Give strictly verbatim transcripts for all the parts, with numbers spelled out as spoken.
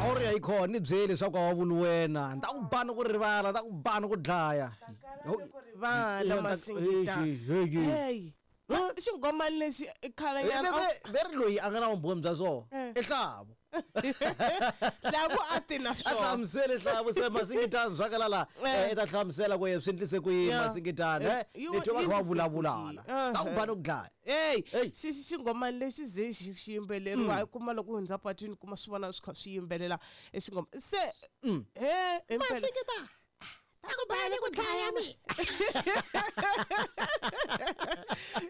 Awuri ya yi khona ni byeli leswaku a wa vuli wena ni ta ku ba ni ku rivala ni ta ku ba ni ku dlaya. Ku rivala Masingita. Hey. Xinghomani lexi i khale nyana. Veri loyi a nga na vumbhoni bya swona i Hlavu. Hlavu a ti na A swona. hlamusele Hlavu se Masingitana zwakala la Eh. i ta hlamusela ku swi endlise ku yini Yeah. Masingitana Eh, eh you- ni twa va kha va yi endlise ku vulavulana yini? ta ku ba ni ku dlaya. Hey, Hey. xi xi xinghomani lexi ze xi xi yimbeleriwa i kuma loko u hundza patwini kuma swi vona swi kha swi yimbelela e xinghoma se he impela Masingitana ta ku ba ni ku dlaya mi.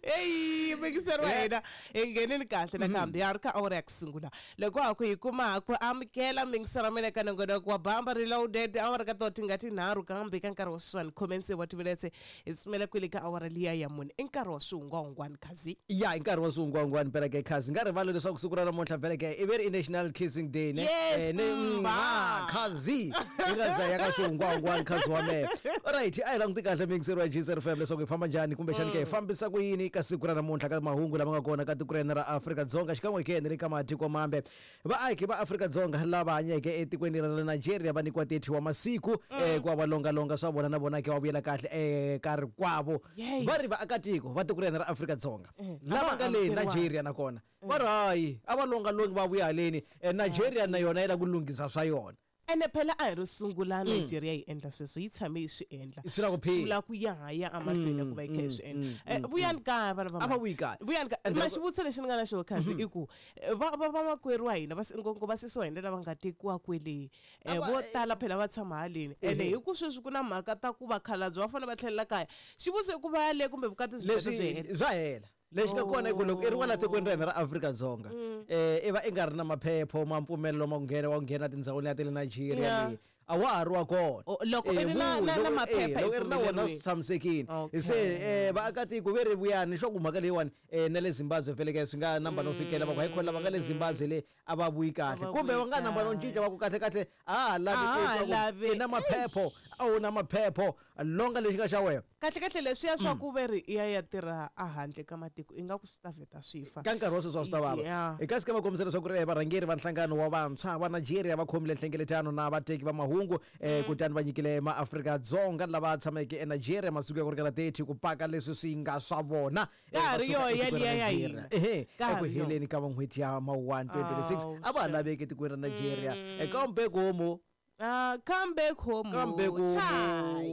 Eyi mingiseri wa hina hi nghenini kahle nakambe ya ri ka awara ya ku sungula loko ha ku hi kuma ha ku amukela mingiseri wa mina ka nongonoko wa Bamba Reloaded awara ka to tinga tinharhu kambe ka nkarhi wa sweswiwani khomense wa timinetse hi simela kwele ka awara liya ya mune i nkarhi wa swihungwahungwani khazi. Ya i nkarhi wa swihungwahungwani phela ke khazi nga rivali leswaku siku ra namuntlha vhele ke i veri i National Kissing Day ne. Yes, Eh, ne mba. mwa khazi hi nga za ya ka swihungwahungwani khazi wa mehe. Alright, a hi languti kahle mingiseri wa G Z F M leswaku hi famba njhani kumbexani ke hi fambisa ku yini ka siku ra namuntlha ka mahungu lama nga kona ka tiko ra hina ra Afrika-Dzonga xikan'we ke ni le ka matiko mambe. Vaaki va Afrika-Dzonga lava hanyeke etikweni ra le Nigeria va nyikiwa thirty wa masiku eh, ku va va longalonga swa vona na vona ke va vuyela kahle eka rikwavo. Yey. Va ri vaakatiko va tiko ra hina ra Afrika-Dzonga Eh, lava a va nga le amukeriwanga. Nigeria nakona va ri hayi a va longalongi va vuya haleni. Eh, Nigeria na yona yi lava ku lunghisa swa yona. Ene phela a hi ro sungula Nigeria yi endla sweswo yi tshame yi swi endla. Swi la ku phila. Swi vula ku ya ha ya emahlweni ku va yi kha yi swi endla. Eh, vuyani kaya vana va A va mhani. vuyi kaya. Vuyani kaya. And Ma loko- xivutiso lexi ni nga na xona khazi i ku, eh, va va vamakwerhu wa hina va ngopfungopfu vasesi wa hina lava nga tekiwa kwele eh, A va- vo tala phela va tshama haleni. Ene Ehe. hi ku sweswi ku na mhaka ta ku vakhalabye va fanele va tlhelela kaya. Xivutiso i ku va ya le kumbe vukati byi vheta byi Leswi hela. bya hela. Lexi nga kona i ku loko i ri kwala tikweni ra hina ra Afrika-Dzonga eh i va i nga ri na maphepho ma mpfumelelo ma ku nghena wa ku nghena tindhawini ta le Nigeria Yeah. leyi a wa ha ri wa kona. Oh, loko i Eh, ri na- vuyi, na- na loko- maphepha eh, loko i ri na wona epfumeleriwini. swi tshamisekile. Okay. Se eh vaakatiko ve ri vuyani xo ku mhaka leyiwani eh na le Zimbabwe vhele ke swi nga namba no fikela va ku hayi khona lava nga le Zimbabwe le a va vuyi kahle A va kumbe va vuyi nga namba no kahle. cinca va ku kahle kahle a ha lavi A ku ha twa ku lavi. i na maphepho a wu na maphepho longa lexi nga xa wena. Kahle kahle leswiya swa ku ve ri i ya ya tirha a handle ka matiko ingaku swi ta vheta swi fa. Ka nkarhi wa sweswi a swi ta vava. Yeah. Hi kasi ka va kombisa leswaku ri varhangeri va nhlangano wa vantshwa va Nigeria va khomile nhlengeletano na vateki va mahungu eh, kutani va nyikile maAfrika-Dzonga lava tshameke eNigeria masiku ya ku ringana thirty ku paka leswi swi nga swa vona. Ka ha Eh, ri va suka yoho etikweni ra yaliya ya Nigeria. hina. Ehe, Ka ha eku ri yoho. heleni ka n'hweti ya Mawuwani twenty twenty-six Awu, a va ha sure. laveki etikweni ra Nigeria. Eh, kambe komu Ah, come back home. kambe Chai.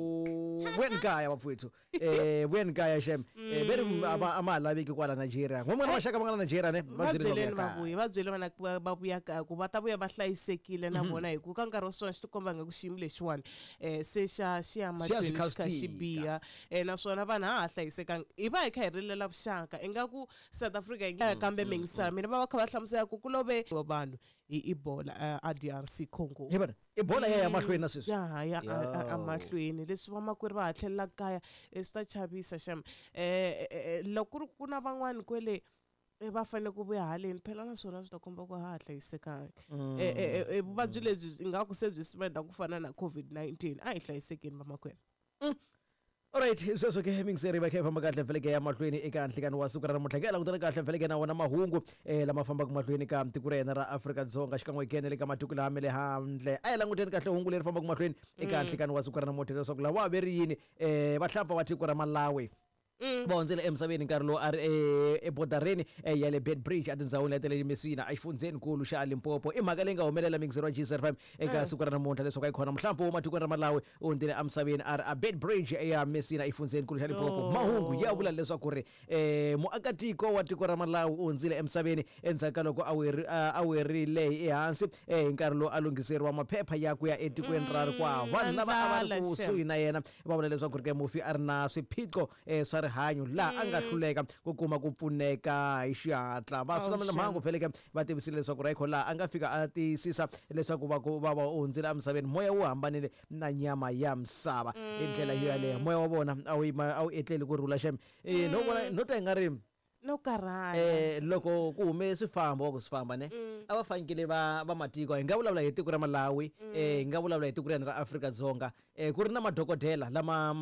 ku vuyani kaya vafowethu eh vuyani kaya shem eh veri a va a ma ha laveki kwala Nigeria n'wan'wana maxaka va nga la Nigeria ne Va va byeleni va byeleni vuya va kaya. vuya va byele vana ku va va vuya kaya ku va ta vuya va hlayisekile na vona hi ku ka nkarhi wa swona swi tikomba nga ku xiyimo lexiwani eh se xa xi ya Xi ya mahlweni swi kha xi kha swi xi tika. biha eh naswona vanhu ha ha hlayisekanga hi va hi kha hi rilela vuxaka ingaku South Africa yi nga kambe mingisana mina va va kha va hlamusela ku ku love vanhu hi Ebola eh, a D R C Congo. Hi vona Ebola ya ya mahlweni na sweswi. Ya ha ya a- a- Yo. emahlweni leswi vamakwerhu va ha tlhelela kaya eh, swi ta chavisa xem eh, eh, eh, loko ku ri ku na van'wani kwele eh, va fanele ku vuya haleni phela naswona swi ta komba ku ha ha hlayisekanga. Eh, eh, eh, vuvabyi lebyi ingaku se byi spread ku fana na COVID nineteen a hi hlayisekeni vamakwerhu. Alright, sweswo ke mingiseri va kha hi famba kahle vheleke ya mahlweni eka nhlikani wa siku ra namuntlha ke langutana kahle vheleke na wona mahungu eh lama fambaka mahlweni ka tiko ra hina ra Afrika-Dzonga xikan'we ke na le ka matiko lama le handle. A hi languteni kahle hungu leri fambaka mahlweni eka nhlikani wa siku ra namuntlha leswaku lawa ve ri yini eh vahlampfa va tiko ra Malawi va hundzile emisaveni nkarhi lowu a ri e- ebodareni eh, ya le Beitbridge etindhawini leti le Messina exifundzhenikulu xa Limpopo. I mhaka leyi nga humelela mingiseri wa G Z F M eka siku ra namuntlha leswaku a yi khona muhlampfu wa matikweni ra Malawi u hundzile emisaveni a ri a Beitbridge ya Messina exifundzhenikulu xa Limpopo. Oh. Mahungu ya vula leswaku ri eh, muakatiko wa tiko ra Malawi u hundzile emisaveni endzhaku ka loko a weri- a a werile ehansi eh, hi nkarhi lowu a lunghiseriwa maphepha ya ku ya etikweni ra rikwavo. Vanhu lava a va ri ndlala, kusuhi xem. na yena va vula leswaku ri ke mufi a ri na swiphiqo eh, swa rihanyo laha a nga hluleka ku kuma ku pfuneka hi xihatla. Va Oh, swi xem. mhangu vheleke va tivisile leswaku Rayco laha a nga fika a tiyisisa leswaku va ku va va u hundzile emisaveni moya wu hambanile na nyama ya misava hi ndlela yo yaleyo moya wa vona a wu yima a wu etleli ku rhula xem. Eh, no vona no twa i nga ri No karhala. eh loko ku hume swifambo wa ku swi famba ne a va fanekele va va matiko hi nga vulavula hi tiko ra Malawi eh hi nga vulavula hi tiko ra hina ra Afrika-Dzonga eh ku ri na madokodela lama